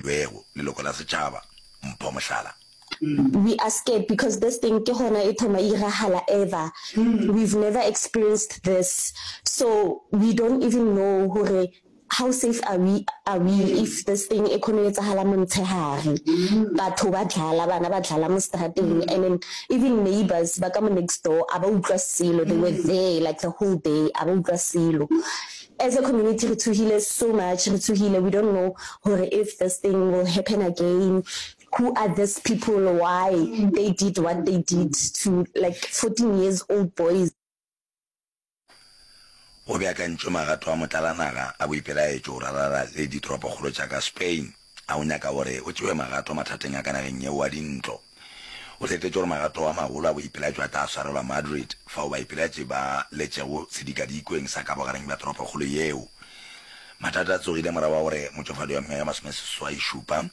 filwego leloko la setšhaba, Mpho Mohlala. We are scared because this thing ke gona e thoma e iragala ever, we've never experienced this so we don't even know gore how safe are we are we if this thing e kgone go etsagala montshegare, batho ba dlala, bana ba dlala mo strateng and then even neighbours ba ka mo next door a ba utlwa selo, they were there like the whole day a ba utlwa selo. As a community re tshohile so much, re tshohile we don't know gore if this thing will happen again, who are this people, why they did what they did to like 14 years old boys. Go beakantšwe magato a motlalanaga a boipelaetšo go ralala le ditoropokgolo tša ka Spain a go nyaka gore go tšewe magato mathateng a ka nageng yeo a dintlo. O hletetše gore magato a magolo a boipelaetšo a tla swarelwa Madrid, fao baipelaetši ba letšego sedikadikweng sa ka bogareng bja toropokgolo yeo. Mathata a tsogile morago ga gore motšofadi wa mengwaga e masomeseswai-šupa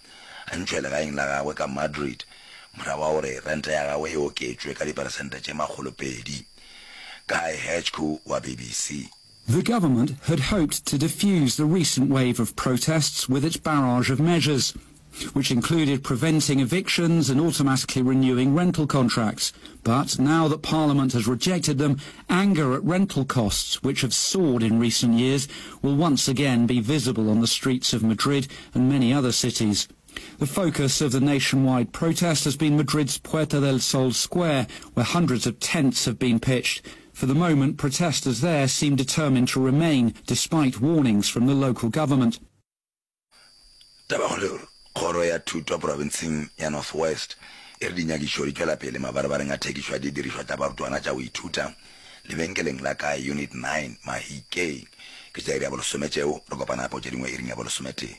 a ntšhwe legaeng la gagwe ka Madrid morago ga gore rente ya gagwe e oketšwe ka diperesente tše makgolopedi. Guy Hedgecoe wa BBC. The government had hoped to defuse the recent wave of protests with its barrage of measures, which included preventing evictions and automatically renewing rental contracts. But now that Parliament has rejected them, anger at rental costs, which have soared in recent years, will once again be visible on the streets of Madrid and many other cities. The focus of the nationwide protest has been Madrid's Puerta del Sol Square, where hundreds of tents have been pitched. For the moment, protesters there seem determined to remain, despite warnings from the local government. Tabakgolo Kgoro ya Thuto profenseng ya North West e re dinyakišo di tšwela pele mabarebareng a thekišo ya didirišwa tša barutwana tša go ithuta lebenkeleng la ka Unit 9 Mahikeng. Ke tša iri ya bolesome tšeo, re kopana gape go tše dingwe iring ya bolesometee.